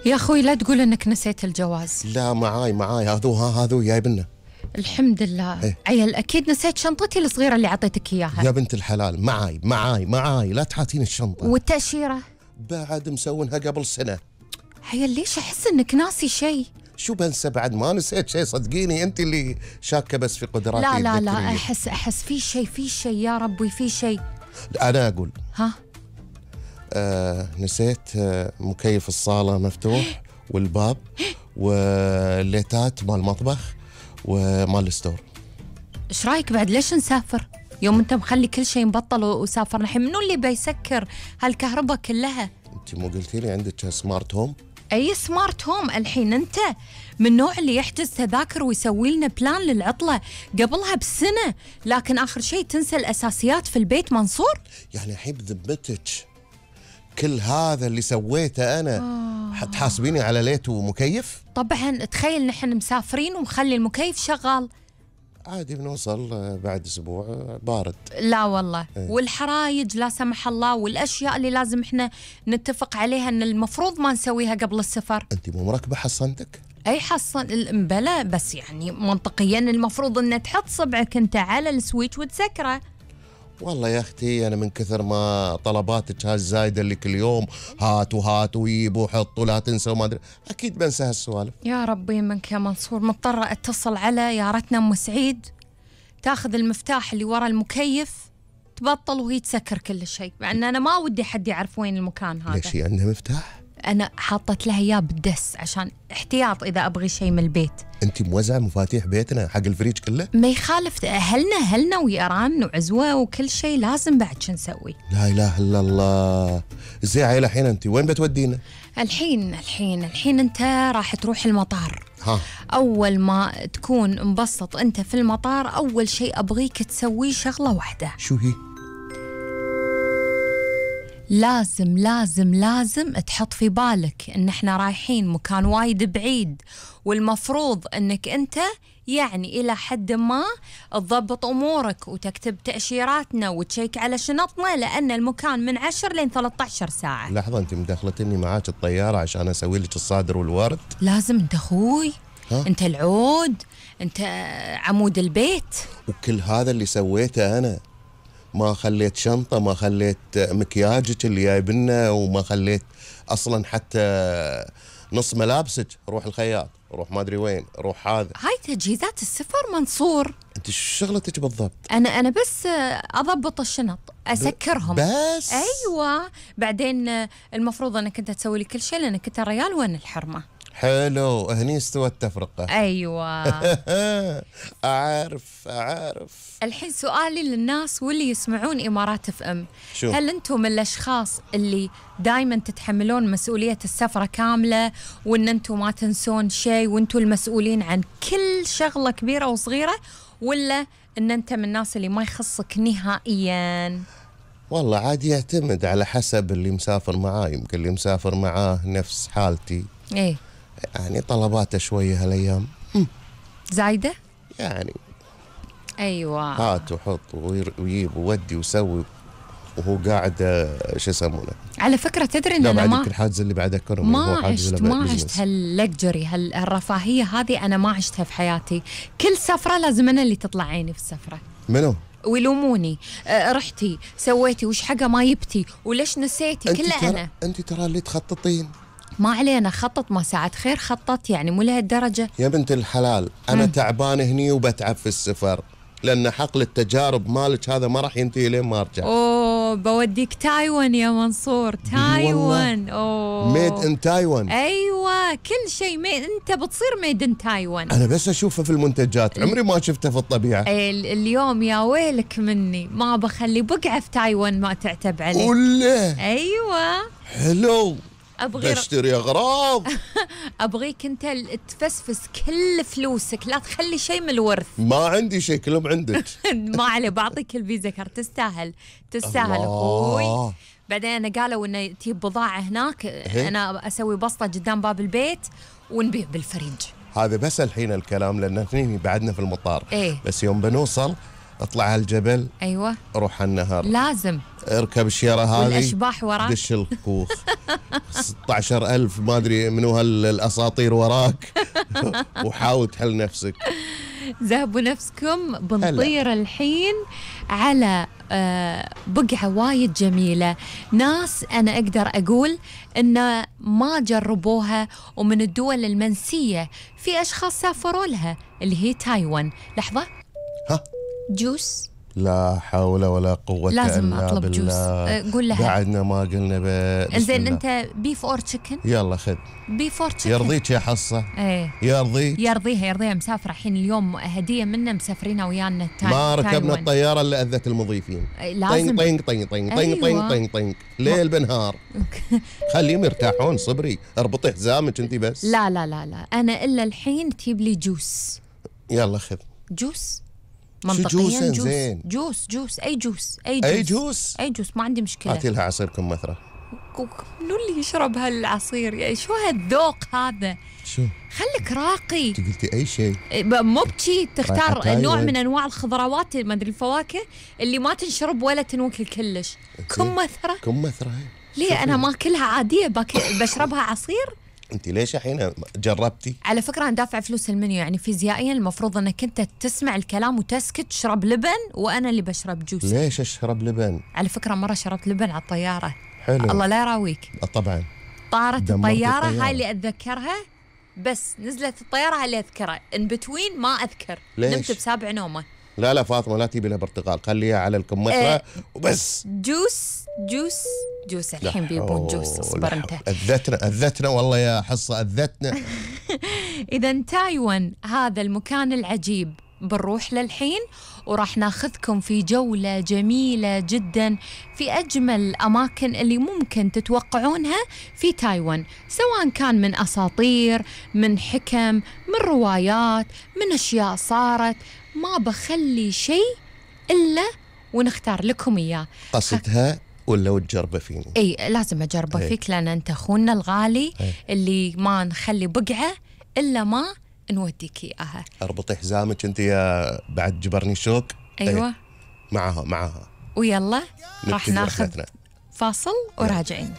يا أخوي لا تقول إنك نسيت الجواز. لا معاي هذو جايبنا. الحمد لله. إيه؟ عيل أكيد نسيت شنطتي الصغيرة اللي عطيتك إياها. يا بنت الحلال معاي لا تحاتين الشنطة. والتأشيرة؟ بعد مسوينها قبل سنة. عيل ليش أحس إنك ناسي شيء؟ شو بنسى بعد؟ ما نسيت شيء صدقيني، أنت اللي شاكة بس في قدراتي لا الذكرية. أحس في شيء يا ربي في شيء. أنا أقول ها؟ نسيت مكيف الصالة مفتوح والباب والليتات مال المطبخ ومال الستور. إيش رأيك بعد ليش نسافر؟ يوم أنت مخلي كل شيء مبطل وسافرنا، الحين منو اللي بيسكر هالكهرباء كلها؟ أنت مو قلتي لي عندك سمارت هوم؟ أي سمارت هوم؟ الحين أنت من النوع اللي يحجز تذاكر ويسوي لنا بلان للعطلة قبلها بسنة، لكن آخر شيء تنسى الأساسيات في البيت. منصور يعني الحين بذمتك كل هذا اللي سويته أنا تحاسبيني على ليت ومكيف؟ طبعا تخيل نحن مسافرين ومخلي المكيف شغال. عادي بنوصل بعد أسبوع بارد. لا والله. والحرايج لا سمح الله والأشياء اللي لازم إحنا نتفق عليها إن المفروض ما نسويها قبل السفر. أنت مو مركبة حصنتك؟ أي حصن بلا، بس يعني منطقيا المفروض إن تحط صبعك أنت على السويتش وتسكره. والله يا أختي أنا من كثر ما طلباتك هالزايدة اللي كل يوم هات ويب وحط لا تنسى وما أدري، أكيد بنسى هالسوالف. يا ربي منك يا منصور، مضطرة أتصل على يارتنا أم سعيد تاخذ المفتاح اللي ورا المكيف تبطل وهي تسكر كل شيء، مع أن أنا ما ودي حد يعرف وين المكان هذا. ليش هي عندها مفتاح؟ أنا حاطت لها إياه بالدس عشان احتياط إذا أبغي شيء من البيت. أنت موزعة مفاتيح بيتنا حق الفريج كله؟ ما يخالف، أهلنا ويران وعزوة وكل شيء لازم بعد شو نسوي؟ لا إله إلا الله. زي عيلة الحين أنت وين بتودينا؟ الحين أنت راح تروح المطار. ها. أول ما تكون مبسط أنت في المطار أول شيء أبغيك تسوي شغلة واحدة. شو هي؟ لازم تحط في بالك ان احنا رايحين مكان وايد بعيد، والمفروض انك انت يعني الى حد ما تضبط امورك وتكتب تأشيراتنا وتشيك على شنطنا، لان المكان من 10 لين 13 ساعة. لحظة، انت مدخلتني معاك الطيارة عشان اسوي لك الصادر والورد؟ لازم انت اخوي، انت العود، انت عمود البيت. وكل هذا اللي سويته انا، ما خليت شنطة، ما خليت مكياجك اللي جايبنا، وما خليت أصلا حتى نص ملابسك. روح الخياط، روح ما أدري وين، روح هذا. هاي تجهيزات السفر منصور. أنت شو شغلتك بالضبط؟ أنا بس أضبط الشنط، أسكرهم بس. أيوة، بعدين المفروض أنك أنت تسوي لي كل شيء لأنك أنت ريال وين الحرمة. حلو، هني استوى التفرقة. أيوة. أعرف. الحين سؤالي للناس واللي يسمعون إمارات اف ام، شو؟ هل أنتم من الأشخاص اللي دايما تتحملون مسؤولية السفرة كاملة، وأن أنتم ما تنسون شيء وأنتم المسؤولين عن كل شغلة كبيرة وصغيرة، ولا أن أنت من الناس اللي ما يخصك نهائيا؟ والله عادي، يعتمد على حسب اللي مسافر معاه. يمكن اللي مسافر معاه نفس حالتي، إيه يعني طلباته شوية هالأيام زايدة يعني. أيوة، هات وحط ويجيب وودي وسوي، وهو قاعد شو يسمونه. على فكرة تدري إن لا أنا بعد الحاجز اللي بعد أكرم ما عشت هاللكجري هالرفاهية هذه، أنا ما عشتها في حياتي. كل سفرة لازم أنا اللي تطلع عيني في السفرة. منو؟ ويلوموني، رحتي سويتي وش حاجة ما جبتي وليش نسيتي، كله أنا. أنت ترى اللي تخططين. ما علينا، خطط ما ساعد خير خطط، يعني مو لهالدرجة. يا بنت الحلال، أنا تعبان هني وبتعب في السفر، لأن حقل التجارب مالك هذا ما راح ينتهي لين ما أرجع. أوه بوديك تايوان يا منصور، تايوان. أوه ميد إن تايوان. أيوة، كل شيء أنت بتصير ميد إن تايوان. أنا بس أشوفه في المنتجات، عمري ما شفته في الطبيعة. اليوم يا ويلك مني ما بخلي بقعة في تايوان ما تعتب عليه. ولا أيوة حلو، أبغي بشتري أغراض. أبغيك أنت تفسفس كل فلوسك، لا تخلي شيء من الورث. ما عندي شيء، كلهم عندك. ما عليه، بعطيك الفيزا كارت، تستاهل أخوي. بعدين قالوا إنه تجيب بضاعة هناك، أنا أسوي بسطة قدام باب البيت ونبيع بالفريج. هذا بس الحين الكلام، لأن هني بعدنا في المطار. إيه؟ بس يوم بنوصل اطلع على الجبل، ايوه روح على النهر، لازم. اركب الشيرة هذه والاشباح وراك، دش الكوخ 16,000 ما ادري منو هالاساطير وراك وحاول تحل نفسك. ذهبوا نفسكم. بنطير الحين على بقعة وايد جميلة، ناس أنا أقدر أقول إن ما جربوها، ومن الدول المنسية في أشخاص سافروا لها، اللي هي تايوان. لحظة، ها جوس، لا حول ولا قوة لازم إلا أطلب جوس. بالله. قول لها بعدنا ما قلنا زين. أنت بيف أور تشيكن؟ يلا خذ. بيف أور تشيكن يرضيك يا حصة؟ ايه يرضيها مسافرة الحين اليوم، هدية منا مسافرين ويانا ما ركبنا تايوان. الطيارة اللي أذت المضيفين. لازم. طينق طينق طينق طينق أيوة. طينق طينق ليل بنهار. خليهم يرتاحون. صبري، اربطي حزامك انت بس. لا لا لا لا، أنا إلا الحين تجيب لي جوس. يلا خذ جوس جوس منطقيا. زين. جوس أي جوس أي جوس ما عندي مشكلة. هاتي لها عصير كمثرى. منو اللي يشرب هالعصير؟ يعني شو هالذوق هذا؟ شو خليك راقي. انت قلتي اي شيء. مو بشي تختار رايحة نوع تايوان. من انواع الخضروات، ما ادري الفواكه اللي ما تنشرب ولا تنوكل كلش. كمثرى ليه؟ انا ماكلها عاديه، بشربها عصير. انت ليش الحين جربتي؟ على فكره انا دافع فلوس المنيو، يعني فيزيائيا المفروض انك انت تسمع الكلام وتسكت، تشرب لبن وانا اللي بشرب جوس. ليش اشرب لبن؟ على فكره مره شربت لبن على الطياره. حلو. الله لا يراويك. طبعا طارت دمرت الطياره، الطيارة. هاي اللي اتذكرها، بس نزلت الطياره هاي اللي اذكرها، ان بتوين ما اذكر. ليش؟ نمت بسابع نومه. لا فاطمة لا تجيبي لها برتقال، خليها على الكمثرى وبس. جوس الحين بيبون جوس. اصبر انت. أذتنا والله يا حصة، أذتنا. إذا تايوان هذا المكان العجيب بنروح للحين، وراح ناخذكم في جولة جميلة جدا في أجمل الأماكن اللي ممكن تتوقعونها في تايوان، سواء كان من أساطير، من حكم، من روايات، من أشياء صارت. ما بخلي شيء إلا ونختار لكم إياه. قصدها ولا وتجربه فيني؟ اي لازم اجربه فيك، لان انت اخونا الغالي اللي ما نخلي بقعه الا ما نوديك اياها. اربطي حزامك انت يا بعد جبرني شوك. ايوه معها ويلا راح نبتدي ناخذ رحلتنا. فاصل وراجعين.